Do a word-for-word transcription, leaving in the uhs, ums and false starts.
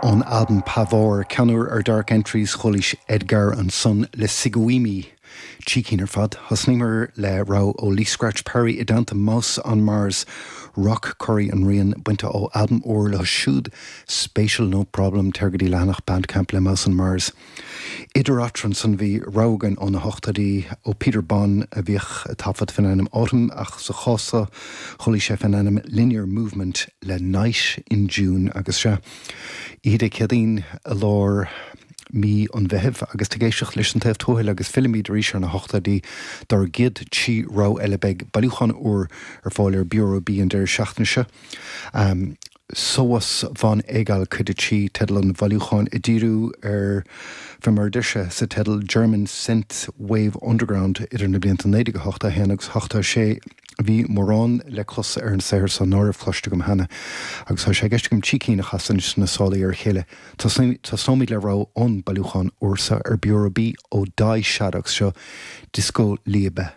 Ón albam Pavor, ceann úr ar Dark Entries chualaís Edguy ansan le Siguimi. Trí cinn ar fad. Thosnaíomar le rogha ó Lee Scratch Perry i dteannta Mouse on Mars, Rock Curry an rian bainte ó albam úr leo siúd Spatial No Problem téir go dtí leathanach Bandcamp le Mouse on Mars. Idir eatarthu san bhí rogha againn ó na hochtóidí ó Peter Bond a bhíodh ag taifead faoin ainm Autumn ach sa chás seo chualaís é faoin ainm Linear Movement le Night in June agus sea Oíche Dé Céadaoin i lár mí an Mheithimh agus tú ag éisteacht leis an Taobh Tuathail agus fillimid arís ar na hochtóidí dár gcéad trí rogha eile beidh bailiúchán úr ar fáil ar Bureau B an deireadh seachtaine seo. Um, Sowas von Egal cuid a trí teideal an bhailiúcháin ag díriú ar fé mar a deir sé sa teideal German Synth Wave Underground idir na blianta naoi déag ochtó a haon agus ochtó a sé bhí mórán le clos ar an saothar seo nach raibh cloiste agam cheana, agus tá sé i gceist agam trí cinn a chasadh sna sála ar a chéile. Tosóimid le rogha ón bailiúchán úr seo ar Bureau B ó Die Shadoks seo Disco Liebe.